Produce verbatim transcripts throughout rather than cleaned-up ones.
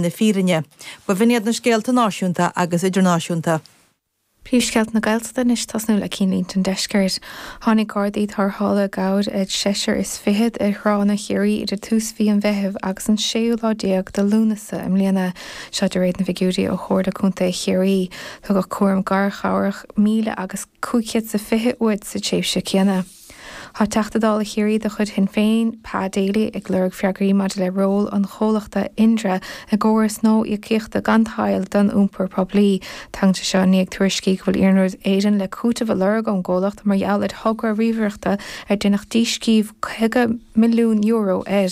na fírinne. B'in iad na scéalta náisiúnta agus idirnáisiúnta. Príomhscéalta na Gaeltachta anois tosnú le cinnlínte an deiscirt. Tháinig Gardaí tarrthála i gcabhair ar seisear is fichead ar thránna Chiarraí idir tús mhí an Mheithimh agus an séú lá déag de Lúnasa i mbliana. Seo de réir na bhfigiúirí ó Chomhairle Contae Chiarraí. Tugadh cúram garchabhrach míle agus cúig chéad is a fiche uair sa tréimhse céanna. Tá Teachta Dála Chiarraí de chuid Shinn Féin, Pa Daly, ag lorg freagraí maidir le ról an chomhlachta Indra i gcóras nua íocaíochta gan tadhall don iompar poiblí. Tagann sé seo i ndiaidh tuairiscí go bhfuil Iarnród Éireann le cúiteamh a lorg ón gcomhlacht mar gheall ar thogra ríomhaireachta ar deineadh díscríobh caoga milliún euro air.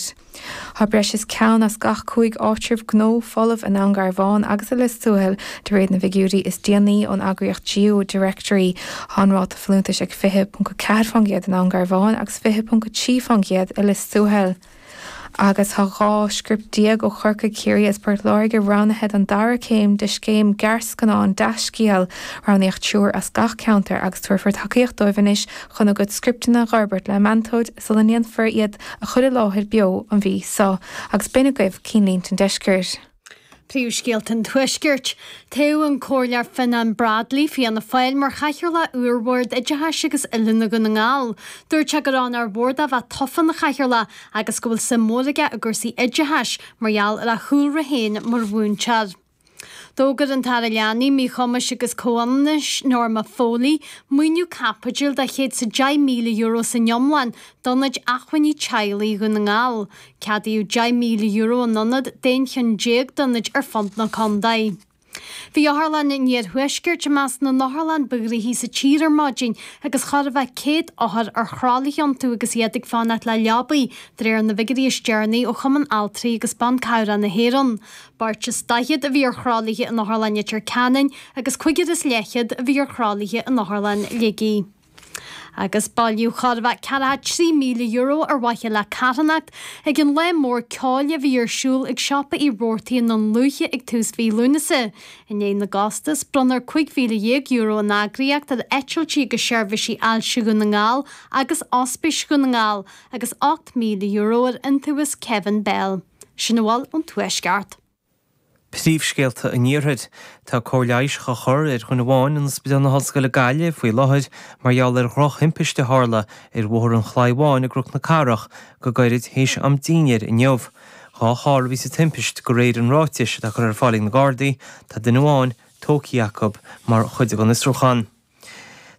Tá breis is ceann as gach cúig áitreabh gnó folamh i nDún Garbhán agus i Lios Tuathail de réir na bhfigiúirí is déanaí ón eagraíocht GeoDirectory. Tá an ráta folúntais ag fiche ponc a ceathair faoin gcéad i nDún Garbhán agus fiche ponc a trí faoin gcéad i Lios Tuathail. Agus tá dhá script déag ó Chorcaigh, Ciarraí agus Port Láirge roghnaithe don dara céim de scéim gearrscannán Deascéal. Roghnaíodh triúr as gach ceantar agus tabharfar tacaíocht dóibh anois chun a gcuid scripteanna a fhorbairt le meantóir sula ndéanfar iad a chur i láthair beo an mhí seo. Agus b'in agaibh cinnlínte an deiscirt. Príomhscéalta an Tuaiscirt. Toghadh an Comhairleoir Fionnán Bradley, Fianna Fáil, mar Chathaoirleach úr Bhord Oideachais agus Oiliúna Dhún na nGall. Dúirt sé gur ann ar bhord a bheith tofa ina Chathaoirleach agus go bhfuil suim mhór aige i gcúrsaí oideachais mar gheall ar a chúlra féin mar mhúinteoir. D'fhógair an tAire Leanaí, Míchumais agus Comhionannais, Norma Foley, maoiniú caipitil de chéad is a deich míle euro san iomlán d'Ionaid Acmhainní Teaghlaigh Dhún na nGall. Ceadaíodh deich míle euro an ionad d'aon cheann déag d'ionaid ar fud na contae. Bhí Otharlann an Iarthuaiscirt i measc na n-otharlann ba ghnoithí sa tír ar maidin agus chóir a bheith céad othar ar thralaithe iontu agus iad ag fanacht le leabaí, de réir na bhfigiúirí is deireanaí ó Chumann Altraí agus Ban Cabhrach na hÉireann. Beirt is daichead a bhí ar thralaithe in Otharlann Leitir Ceanainn agus cúigear is leathchéad a bhí ar thralaithe in Otharlann Shligigh. Agus bailíodh chóir a bheith ceathracha trí míle euro ar mhaithe le carthanacht ag an lá mór ceoil a bhí ar siúl ag Siopa Uí Robhartaigh i nDún Lúiche ag tús mhí Lúnasa. I ndiaidh na gcostas, bronnadh cúig mhíle dhéag euro ón eagraíocht ar eitiltí agus seirbhísí ailse Dhún na nGall agus Ospís Dhún na nGall agus ocht míle euro ar iontaobhas Kevin Bell. Sin a bhfuil ón Tuaisceart. Príomhscéalta an Iarthair. Tá cóir leighis á chur ar dhuine amháin in Ospidéal na hOllscoile Gaillimh faoi láthair mar gheall ar dhrochthimpiste a tharla ar Bhóthar an Chlaí Bháin i gCnoc na Cathrach go gairid théis am dinnéir inniu. Dhá charr a bhí sa timpist de réir an ráitis atá curtha ar fáil ag na Gardaí, tá duine amháin tógtha acu mar chuid den fhiosrúchán.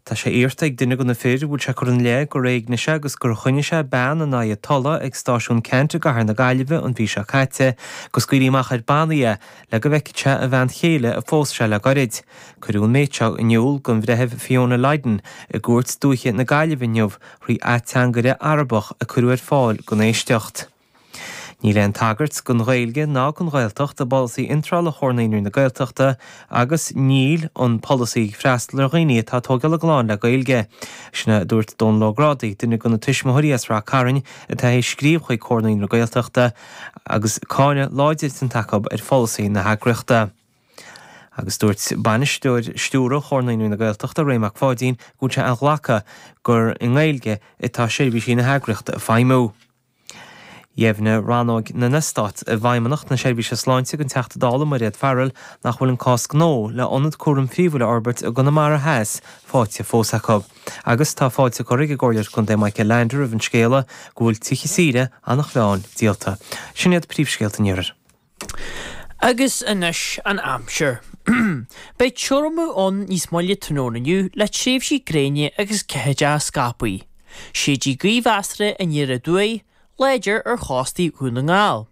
Tá sé iarrta ag duine de na fir a bhfuil sé curtha ina leith gur éignigh sé agus gur choinnigh sé bean in aghaidh a tola ag stáisiún Ceannt i gcathair na Gaillimhe an mhí seo caite go scaoilfí amach ar bannaí é le go bhfeicfeadh sé a bhean chéile a phós sé le gairid. Cuireadh an méid seo in iúl don Bhreitheamh Fiona Lydon i gCúirt Dúiche na Gaillimhe inniu thrí ateangaire Arabach a cuireadh ar fáil don éisteacht. Níl aon tagairt don Ghaeilge ná don Ghaeltacht i bpolasaí iontrála Chomhar Naíonraí na Gaeltachta agus níl an polasaí ag freastal ar dhaoine atá ag tógáil a gclann le Gaeilge. Sin a dúirt Dónal Ó Grádaigh, duine de na tuismitheoirí as Rath Cairn atá théis scríobh chuig Comhar Naíonraí na Gaeltachta agus cáineadh láidir déanta acu ar pholasaí na heagraíochta. Agus dúirt bainisteoir stiúrtha Chomhar Naíonraí na Gaeltachta, Ray Mac Pháidín, go bhfuil sé inghlactha gur i nGaeilge atá seirbhísí na heagraíochta ag feidhmiú. Dheimhnigh Rannóg na nEastát i bhFeidhmeannacht na Seirbhíse Sláinte don Teachta Dála Mairéad Farrell nach bhfuil an cás gnó le ionad cúraim phríomhúil a fhorbairt i gConamara Theas faighte fós acu. Agus tá fáilte curtha ag an gComhairleoir Contae Michael Leander roimh an scéala go bhfuil tithe saoire Eanach Mheáin díolta. Sin iad príomhscéalta an Iarthair. Agus anois an aimsir. Beidh tiormú ann níos moille tráthnóna inniu le tréimhsí gréine agus ceathaideacha scaipthe. Séidfidh gaoth mheasartha aniar aduaidh, láidir ar chóstaí Dhún na nGall.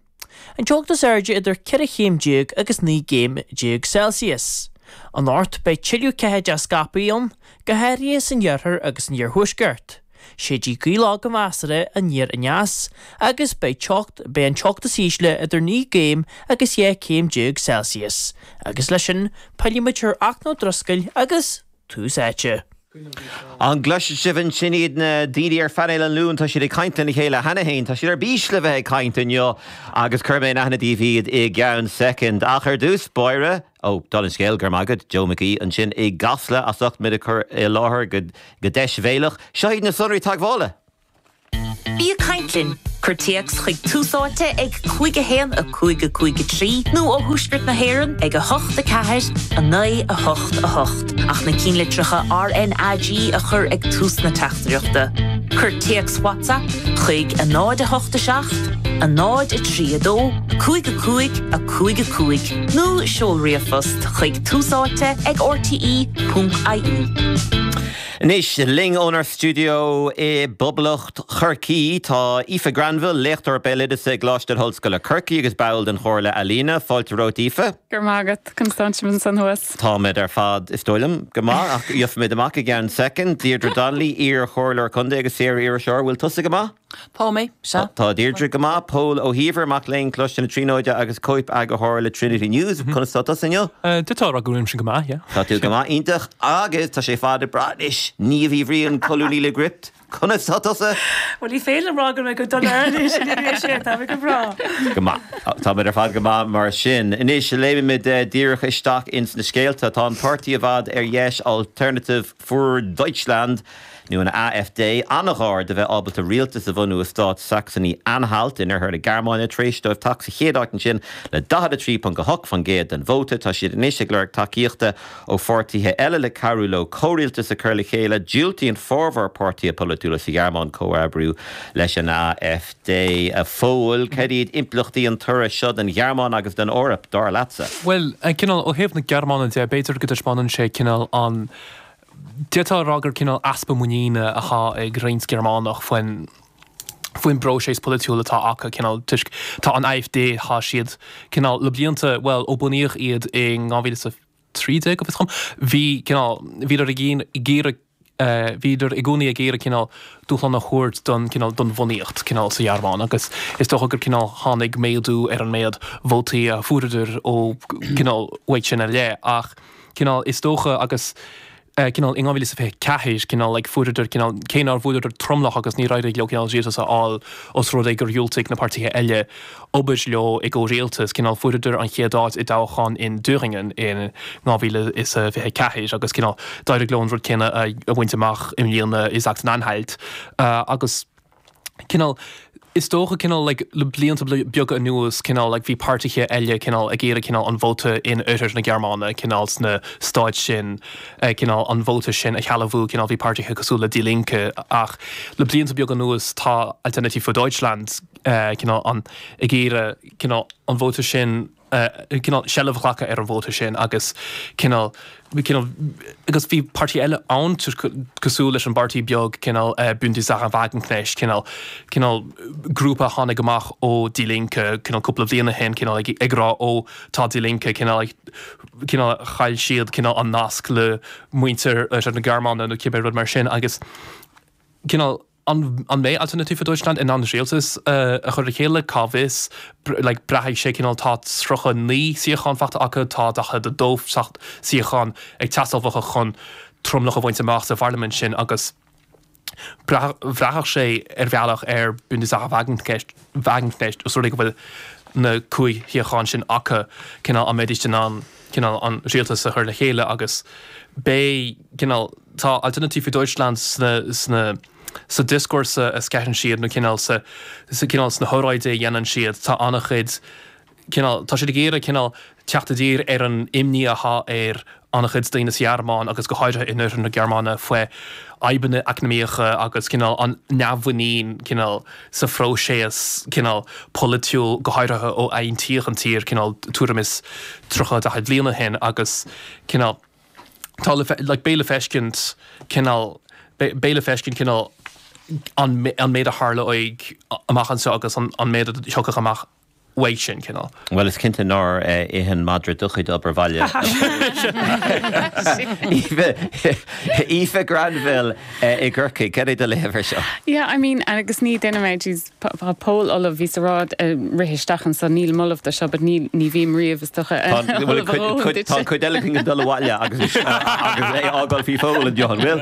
An teocht is airde idir ceithre chéim déag agus naoi gcéim déag Celsius. Anocht beidh tuilleadh ceathaideacha scaipthe ann, go háirithe san iarthar agus san iarthuaisceart. Séidfidh gaoth lag go measartha aniar aneas agus beidh teocht beidh an teocht is ísle idir naoi gcéim agus dhá chéim déag Celsius. Agus leis sin, pillfimid ar Eachna Ó Drisceoil agus Tús Áite. An gcloiseann sibh ansin iad na daoine ar phainéal an Luain? Tá siad ag caint lena chéile cheana féin. Tá siad ar bís le bheith ag caint inniu agus cuirfidh mé in aithne daoibh iad i gceann soicind. Ach ar dtús báire, ó, dála an scéil, go raibh maith agat, Joe McGee ansin i gCasla as ucht muid a chur i láthair go deisbhéalach. Seo iad na sonraí teagmhála. Bí ag caint linn, Cuir téacs chuig Tús Áite ag cúig a haon a cúig a cúig a trí nó ó Thuaisceart na hÉireann ag a hocht a ceathair a naoi a hocht a hocht ach na cinnlitreacha RNAG a chur ag tús na teachtaireachta. Cuir téacs WhatsApp chuig a náid a hocht a seacht, a náid a trí a dó, cúig a cúig a cúig a cúig nó seol ríomhphost chuig túsáite ag rte ponc ie. Anois linn ónár stiúideo i bPoblacht Chorcaí tá Aoife Granville, léachtóir béaloideasa i gColáiste na hOllscoile Corcaigh agus ball den Chomhairle Ealaíne, fáilte romhat Aoife. Go raibh maith agat Constance ansan thuas. Táimid ar fad is dóigh liom go maith ach gheobhaimid amach i gceann soicind, Deirdre Donnelly, iar-chomhairleoir contae agus saor-iriseoir, bhfuil tusa go maith? Tá mé sea. Tá Deirdre go maith, Pól Ó hÍomhair mac léinn Choláiste na Tríonóide agus cóip-eagarthóir le Trinity News, conas tá tusa inniu? D'fhéadfá a rá go bhfuilimse go maith, yeah. Tá tú go maith iontach agus tá sé fada breá anois Niamh Uí Bhriain colúnaí le Gript. Conas tá tusa? Well ní féidir rá go mé go dona sé tá go breá. Go maith Táimid ar fad go maith mar sin. Anois léimimid díreach isteach ins na scéalta tá an páirtí i bhfad ar dheis Alternative für Deutschland nó an AfD an-ghar do bheith ábalta rialtas a bhunú i stát Saxony Anhalt in oirthear na Gearmáine tar éis dóibh teacht sa chéad áit ansin le daichead a trí ponc a hocht faoin gcéad den vóta. Tá siad anois ag lorg tacaíochta ó pháirtithe eile le cabhrú leo comhrialtas a chur le chéile diúltaíonn formhór páirtithe polaitiúla sa Ghearmáin comhoibriú leis an AfD a Phóil cad iad impleachtaí an toradh seo don Ghearmáin agus don Eoraip dar leatsa. Well cineál ó thaobh na Gearmáine de b'fhéidir go dtaispeánann sé cineál an D'fhéadfá a rá gur cineál easpa muiníne atá ag roinnt Gearmánach faoin faoin bpróiseas polaitiúil atá acu cineál toisc tá an AfD tá siad cineál le blianta well ó bunaíodh iad in dhá mhíle is a trí déag go bhfios dom bhí cineál bhíodar ag iarraidh bhíodar i gcónaí ag iarraidh cineál dúshlán a thabhairt don cineál don bhunaíocht cineál sa Ghearmáin agus is dócha gur cineál tháinig méadú ar an méad vótaí a fuaireadar ó cineál uaidh sin i leith ach cineál is dócha agus cineál in dhá mhíle is fiche ceathair cineál like fuaireadar cineál cé nár bhuaileadar tromlach agus níor éirigh leo cineál rialtas a fháil os rud é gur dhiúltaigh na páirtithe eile obair leo i gcomhrialtas cineál fuaireadar an chéad áit i dtoghchán in Thüringen in dhá mhíle is fiche ceathair agus cineál d'éirigh leo an rud céanna a bhaint amach i mbliana i Sachsen-Anhalt agus cineál is dócha cineál like le blianta beaga anuas cineál like bhí páirtithe eile cineál ag iarraidh cineál an vóta in oirthear na Gearmáine cineál sna stáit sin cineál an vóta sin a shealbhú cineál bhí páirtithe cosúil le Die Linke ach le blianta beaga anuas tá Alternative für Deutschland cineál an ag iarraidh cineál an vóta sin cineál seilbh a ghlacadh ar an vóta sin agus cineál cineál agus bhí páirtí eile ann cosúil leis an bpáirtí beag cineál Bündnis Sahra Wagenknecht cineál cineál grúpa a tháinig amach ó Die Linke cineál cúpla bliain ó shin cineál ag ag rá ó tá Die Linke cineál cineál chaill siad cineál an nasc le muintir na Gearmáine nó cibé rud mar sin agus cineál an an mbeidh Alternative für Deutschland in ann rialtas a chur le chéile cá bhfios like braithfidh sé cineál tá tríocha naoi suíochán faighte acu tá daichead a dó suíochán ag teastáil uathu chun tromlach a bhaint amach sa pharlaimint sin agus bhraithfeadh sé ar bhealach ar Bündnis Sahra Wagenknecht Wagenknecht os rud é go bhfuil na cúig shuíochán sin acu cineál an mbeidís in ann cineál an rialtas a chur le chéile agus beidh cineál tá Alternative für Deutschland sna sna sa dioscúrsa a sceitheann siad nó cineál sa sa cineál sna hóráidí a dhéanann siad tá an-chuid cineál tá siad ag iarraidh cineál teacht i dtír ar an imní atá ar an-chuid daoine sa Ghearmáin agus go háirithe in oirthear na Gearmáine faoi fhadhbanna eacnamaíocha agus cineál an neamh-mhuinín cineál sa phróiseas cineál polaitiúil go háirithe ó aontaíodh an tír cineál tuairim is tríocha daichead bliain ó shin agus cineál tá le like beidh le feiscint cineál beidh le feiscint cineál an an méid a tharlóidh amach anseo agus an an méid a thiocfadh amach uaidh sin cineál. Bhuel is cinnte nár ith an madra do chuid obair bhaile. Aoife Granville i gCorcaigh, cad é do léamh air seo? Yeah, I mean, agus ní duine mé, jeez, tá Pól ullamh, bhíos ag rá rith isteach anso, nílim ullamh do seo, but ní ní bhím riamh is dócha ullamh a dhóthain duit. Tá an chuid eile againn ag dul abhaile agus agus é á fhágáil faoi Phól inniu, an bhfuil?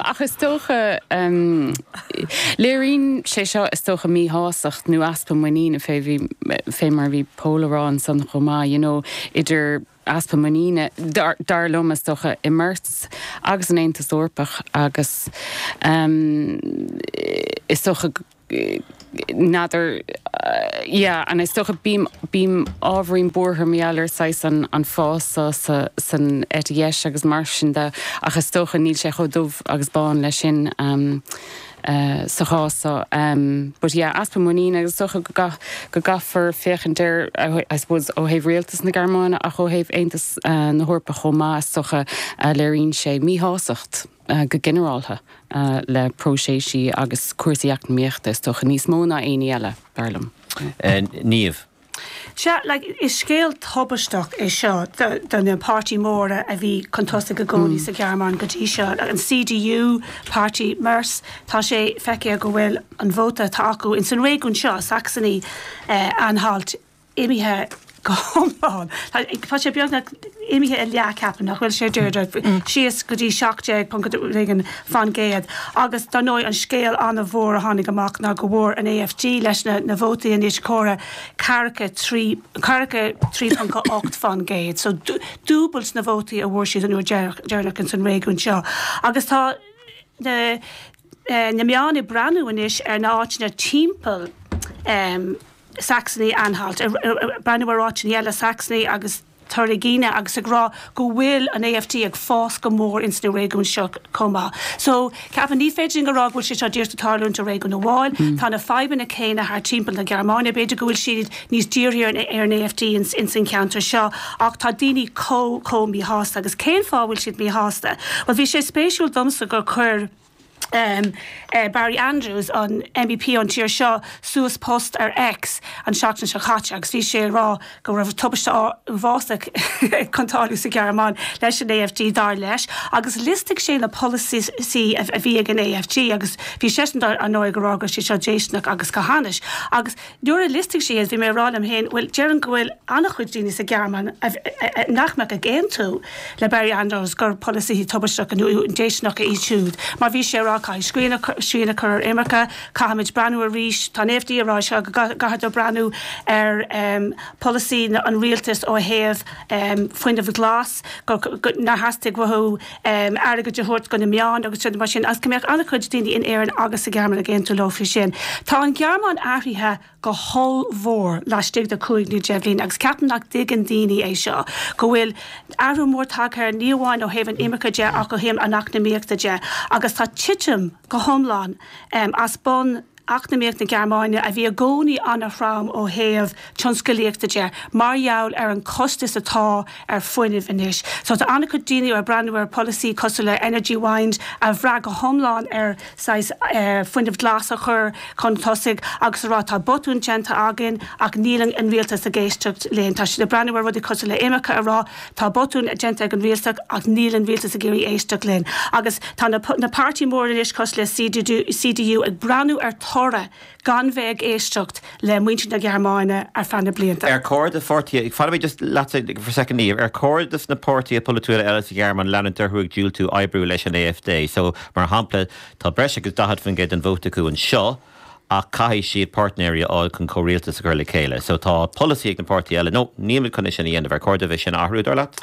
Ach is dócha, léiríonn sé seo is dócha míshástacht nó easpa muiníne fé bhí fé mar a bhí Pól a rá ansan chomh maith, you know, idir easpa muiníne dar, dar liom is dócha i Merz agus an Aontas Eorpach agus um, is dócha n'fheadar yeah and is dócha bím bím ábhairín buartha mar gheall ar saghas an an fás sa sa san eite dheis agus mar sin de ach is dócha níl sé chomh dubh agus bán leis sin um, uh, sa chás so um, but yeah easpa muiníne agus dócha go ga go gcaithfear féachaint air I suppose ó thaobh rialtas na Gearmáine ach ó thaobh Aontas uh, na hEorpa chomh maith is dócha uh, léiríonn sé míshástacht uh, go ginearálta uh, le próiseas agus cúrsaí eacnamaíochta is dócha níos mó ná aon ní eile dar liom. Uh, Niamh. Sea, like, is scéal tubaisteach é seo do na páirtí móra a bhí chun tosaigh i gcónaí mm. sa Ghearmáin go dtí seo. An CDU páirtí Merz tá sé feicthe go bhfuil an vóta atá acu in san réigiún seo Saxony eh, Anhalt imithe go hiomlán. Tá sé beagnach imithe i leath ceapaim nach bhfuil sé dúirt síos go dtí seacht déag ponc éigin faoin gcéad. Agus dar ndóigh an scéal an-mhór a tháinig amach ná go bhfuair an AFD leis na, na vótaí anois córa ceathracha trí ceathracha trí ponc ocht faoin gcéad. So dúbailt na vótaí a bhfuair siad an uair deireanach in san réigiún seo. Agus tá na, eh, na meáin ag breathnú anois ar na áiteanna timpeall um, Saxony Anhalt, breathnú ar áiteanna eile Saxony agus Thuringia agus ag rá go bhfuil an AFD ag fás go mór ins na réigiún seo chomh maith. So ceapaim ní féidir go rá go bhfuil sé seo díreach ag tarlúint i réigiún amháin, mm. Tá na fadhbanna céanna thar timpeall na Gearmáine, b'fhéidir go bhfuil siad níos dírithe ar, ar an AFD ins, ins an ceantar seo, ach tá daoine chomh chomh míshásta agus cén fáth bhfuil siad míshásta. Well bhí sé spéisiúil domsa gur chuir um, uh, Barry Andrews an MEP an tír seo suas post ar X an seachtain seo caite agus bhí sé rá go raibh tubaiste uafásach chun tarlú sa Ghearmáin leis an AFD dar leis agus liostaigh sé na polasaithe a bhí ag an AFD agus bhí sé dar an nóigh go rá go sé seo déisteanach agus go hainnis. Agus nuair a liostaigh sé bhí mé rá liom féin bhfuil déarfainn go bhfuil an-chuid daoine sa Ghearmáin nach mbeadh ag aontú le Barry Andrews gur polasaithe tubaisteacha nó déisteanacha iad siúd, mar bhí sé rá caithfidh srian a chur ar imirce, caithfimid breathnú arís tá an AFD ag rá seo go gcaithfidh breathnú ar um, polasaí an rialtas ó thaobh um, fuinneamh glas nár theastaigh uathu um, airgead a thabhairt go na meáin agus sin mar sin as go mbeadh an-chuid daoine in Éirinn agus sa Ghearmáin ag aontú leo faoi sin. Tá an Ghearmáin athraithe go hollmhór laistigh de cúig nó deich mbliana agus ceapaim nach dtuigeann daoine é seo, go bhfuil athrú mór tagtha ní amháin ó thaobh an imirce de ach ó thaobh an eacnamaíochta de agus tá titim go hiomlán um, as bun eacnamaíocht na Gearmáine a bhí i gcónaí an-throm ó thaobh tionsclaíochta de mar gheall ar an costas atá ar fuinneamh anois. So tá an-chuid daoine ar breathnú ar polasaí cosúil le Energiewende a bhraith go hiomlán ar saghas uh, fuinneamh glas a chur chun tosaigh agus rá tá botún déanta againn ach níl an rialtas ag éisteacht linn. Tá siad ag breathnú ar rudaí cosúil le imirce a rá tá botún déanta ag an rialtas ach níl an rialtas ag iarraidh éisteacht linn. Agus tá na, na páirtí mór anois cosúil le CDU, CDU ag breathnú ar toradh gan bheith ag éisteacht le muintir na Gearmáine ar feadh na blianta. Ar chóir do pháirtithe fanfaidh mé just leat for second Niamh, ar chóir dos na páirtithe polaitiúla eile sa Ghearmáin leanúint orthu ag diúltú oibriú leis an AFD. So mar shampla tá breis agus daichead faoin gcéad den vóta acu anseo ach caithfidh siad páirtnéirí a fháil chun comhrialtas a chur le chéile. So tá polasaí ag na páirtithe eile, no nílimid chun sin a dhéanamh ar chóir dóibh sin a athrú dar leat?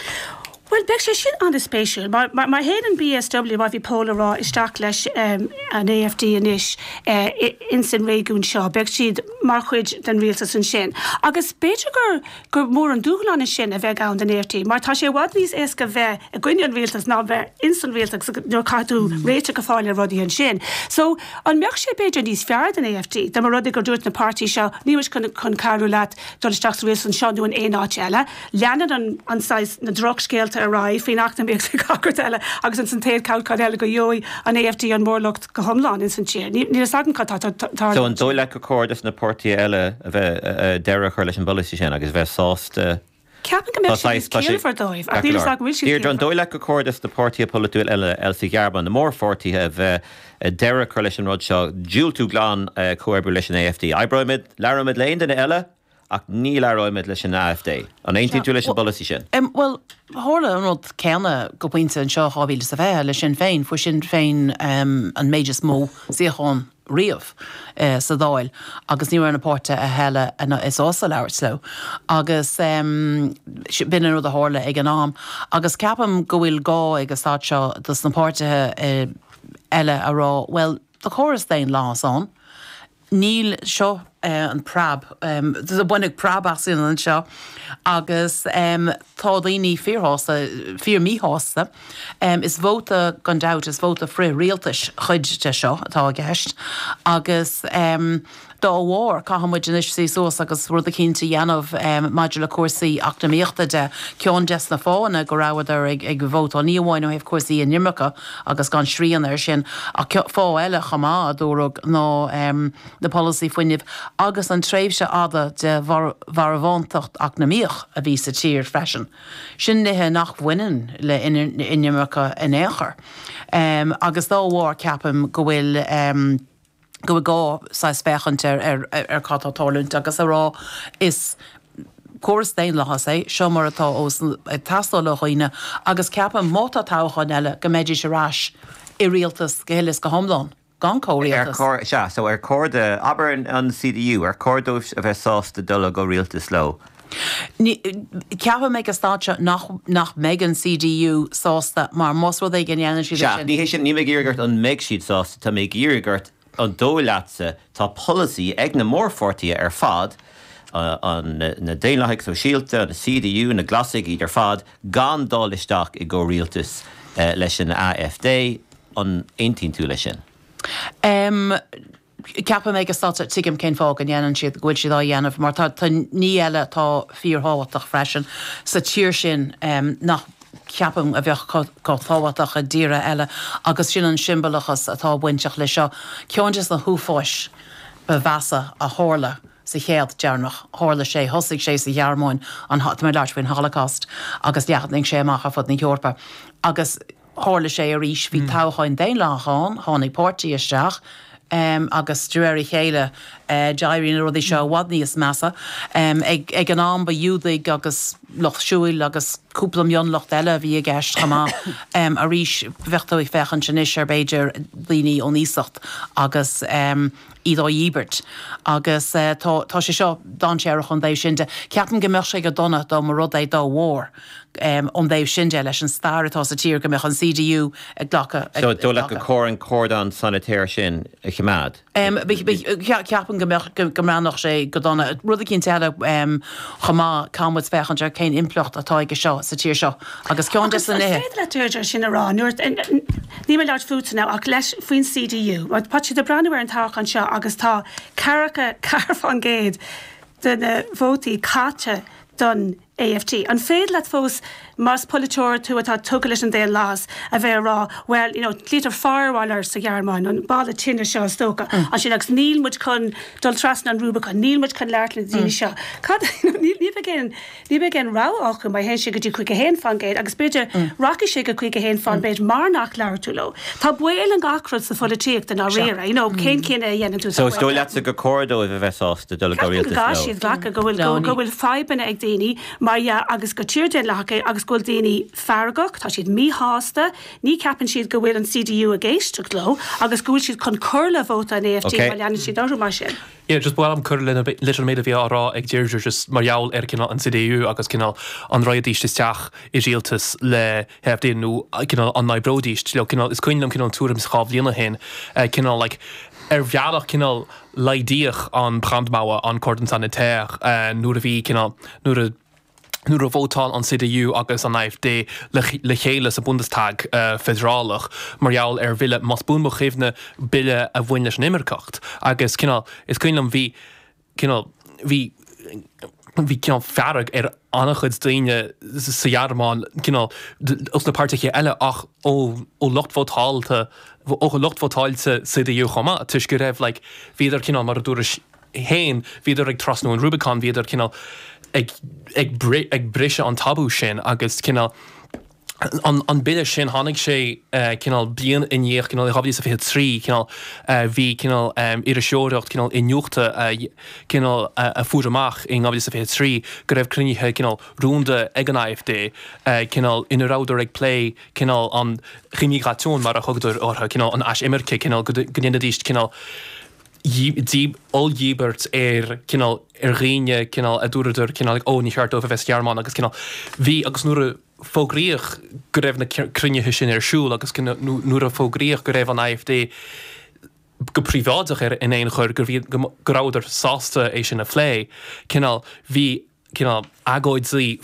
Well, beidh sé sin an-spéisiúil. Mar, mar, mar théann an BSW mar bhí Pól ag rá isteach leis um, an AFD anois uh, ins an réigiún seo, beidh siad mar chuid den rialtas ansin. Agus b'fhéidir gur, gur mór an dúshlán sin a bheith ann den AFD, mar tá sé i bhfad níos éasca bheith i gcoinne an rialtas ná bheith ins an rialtas nuair caithfidh tú réiteach a fháil ar rudaí ansin. So an mbeadh sé b'fhéidir níos fearr den AFD, dá mba rud é gur dúirt na páirtí seo níl muid chun, chun cabhrú leat dul isteach sa rialtas anseo nó in aon áit eile. Leanann an, an saghas na drochscéalta ar aghaidh faoin eacnamaíocht gach rud eile agus an san taobh toghchán eile go gheobhaidh an AFD an mórlucht go hiomlán ins an tír. Níl a fhios agam cad tá So an dóigh leat gur chóir dos na páirtithe eile a bheith deireadh a chur leis an bpolasaí sin agus bheith sásta Ceapaim go mbeadh sé níos ciallmhar dóibh ach níl a fhios agam bhfuil siad Deirdre, an dóigh leat gur chóir dos na páirtithe polaitiúil eile eile sa Ghearmáin, na mórpháirtithe a bheith deireadh a chur leis an rud seo, diúltú glan comhoibriú leis an AFD. Oibreoimid, labhróimid le aon duine eile ach ní labhróimid leis an AFD. An aontaíonn tú leis an bpolasaí sin? Um, well, tharla an rud céanna go pointe anseo dhá mhíle is a fiche le Sinn Féin, fuair Sinn Féin um, an méid is mó suíochán riamh sa Dáil agus ní raibh na páirtithe eile sásta labhairt leo agus b'in an rud a tharla ag an am agus ceapaim go bhfuil gá ag an staid seo dos na páirtithe eile a rá bhuel tá córas daonlathas ann níl seo an preab baineadh preab asainn anseo agus tá daoine fíorshásta fíor-mhíshásta. Is vóta gan dabht is vóta frith-rialtais cuid de seo atá i gceist agus dá bharr caithfidh muid anois suí suas agus rud eicínt a dhéanamh maidir le cúrsaí eacnamaíochta de. Ceann des na fáthanna go rabhadar ag vótáil ní amháin ó thaobh cúrsaí inimirce agus gan srian air sin ach fáth eile chomh maith a dúradh ná na polasaí fuinnimh agus an tréimhse fhada de mharbhántacht eacnamaíoch a bhí sa tír freisin. Sin nithe nach bhaineann le inimirce in aon chor. Agus dá bharr ceapaim go bhfuil go bhfuil gá saghas féachaint ar ar ar cad tá ag tarlúint agus a rá is córas daonlathas é seo mar atá os ag teastáil ó dhaoine agus ceapaim má tá toghchán eile go mbeidís ar ais i rialtas go huile is go hiomlán gan Ar comhrialtas. chóir, sea, so ar chóir do, abair an CDU, ar chóir dóibh a bheith sásta dul i gcomhrialtas leo? Ní, ceapaim ag an staid seo nach, nach mbeidh an CDU sásta mar más rud é go ndéanann siad é Sea, sin. ní hé sin, níl mé ag iarraidh ort an mbeidh siad sásta, tá mé ag iarraidh ort an dóigh leatsa, tá polasaí ag na mórpháirtithe ar fad, an, na Daonlathaigh Sóisialta, an CDU, na Glasaigh, iad ar fad, gan dul isteach i gcomhrialtas leis an AfD, an aontaíonn tú leis sin? Em, ceapaim ag an staid seo, tuigim cén fáth go ndéanann siad, go bhfuil siad á dhéanamh, mar tá, tá ní eile atá fíorthábhachtach freisin sa tír sin nach ceapaim a bheadh chomh tábhachtach i dtíortha eile agus sin an siombalachas atá bainteach leis seo. Ceann de na huafáis ba mheasa a tharla sa chéad deireanach, tharla sé, thosaigh sé sa Ghearmáin, an, tá mé ag labhairt faoin Holocaust, agus leathnaigh sé amach ar fud na hEorpa. Agus tharla sé arís, bhí toghcháin daonlathacha ann, tháinig páirtí isteach, agus de réir a chéile d'éirigh na rudaí seo i bhfad níos measa. Ag an am ba Ghiúdaigh agus lucht siúil agus cúpla mionlucht eile a bhí i gceist chomh maith. Arís, bheadh tú ag féachaint anois ar b'fhéidir daoine ón iasacht agus iad á dhíbirt. Agus tá sé seo dainséarach ón dtaobh sin de. Ceapaim go mbeadh sé go dona dá mba rud é dá bharr ón dtaobh sin de leis an stair atá sa tír go mbeadh an CDU ag glacadh. So dóigh leat gur chóir an cordon sanitaire sin a choimeád? Ceapaim go mbeadh, go mbreathnódh sé go dona. Rud eicínt eile chomh maith, caithfidh muid féachaint ar cén impleacht atá aige seo sa tír seo agus ceann de na Agus nithe. an féidir leat Deirdre sin a rá nuair, níl mé ag labhairt fútsa now ach leis faoin CDU, mar tá siad ag breathnú ar an toghchán seo agus tá ceathracha ceathair faoin gcéad de na vótaí caite don AfD. An féidir leat fós, más polaiteoir tú atá tugtha leis an daonlathas, a bheith ag rá, bhuel, you know, glaoitear firewall sa Ghearmáin, an balla tine seo is dócha, ansin agus níl muid chun dul trasna an Rubicon, níl muid chun labhairt le na daoine seo. Cad, you know, ní bheidh aon, ní bheidh aon rogha acu má théann sé go dtí caoga a haon faoin gcéad agus b'fhéidir rachaidh sé go caoga a haon faoin gcéad mar nach labhair tú leo. Tá baol in gach rud sa pholaitíocht i ndáiríre, you know, cén cinneadh a dhéanann tú So is dóigh leatsa gur chóir dóibh a bheith sásta dul i Ceapaim go gcomhrialtas gcaithfidh leo? siad glacadh go bhfuil, go bhfuil fadhbanna ag daoine mar dhea agus gur tír daonlathach é agus go bhfuil daoine feargach, tá siad míshásta, ní cheapann siad go bhfuil an CDU ag éisteacht leo agus go bhfuil siad chun cur le vóta an AfD má leanann siad orthu mar sin. Yeah, just ba mhaith liom cur leis an méid a bhí á rá ag Deirdre just mar gheall ar cineál an CDU agus cineál an raghaidís isteach i rialtas le hAfD nó cineál an n-oibreoidís leo cineál is cuimhin liom cineál tuairim is dhá bhliain ó shin cineál like ar bhealach cineál laghdaíodh an Brandmauer an cordon sanitaire nuair a bhí cineál nuair a nuair a vótáil an CDU agus an AfD le chéile sa Bundestag feidearálach mar gheall ar bhille, más buan mo chuimhne, bille a bhain leis an imirceacht agus cineál, is cuimhin liom bhí cineál, bhí, bhí cineál fearg ar an-chuid daoine sa Ghearmáin cineál os na páirtithe eile ach ó ó lucht vótáilte, ó lucht vótáilte CDU chomh maith toisc go raibh like bhíodar cineál mar a dúrais féin, bhíodar ag trasnú an Rubicon, bhíodar cineál ag ag ag briseadh an tabú sin agus cineál an an bille sin tháinig sé cineál bliain i ndiaidh cineál i dhá mhíle is a fiche trí cineál bhí cineál iriseoireacht cineál iniúchta cineál a fuair amach in dhá mhíle is a fiche trí go raibh cruinnithe cineál rúnda ag an AfD cineál ina rabhadar ag plé cineál an Remigration mar a thugadar orthu cineál an aisimirce cineál go ndéanfaidís cineál Oll-dhíbirt ar cineál ar dhaoine cineál a dúradar cineál ó ní cheart dóibh a bheith sa Ghearmáin agus cineál bhí agus nuair a fógraíodh go raibh na cruinnithe sin ar siúl agus nuair a fógraíodh go raibh an AfD go príobháideach ar in aon chor go bhí go rabhadar sásta é sin a phlé cineál bhí cineál agóidí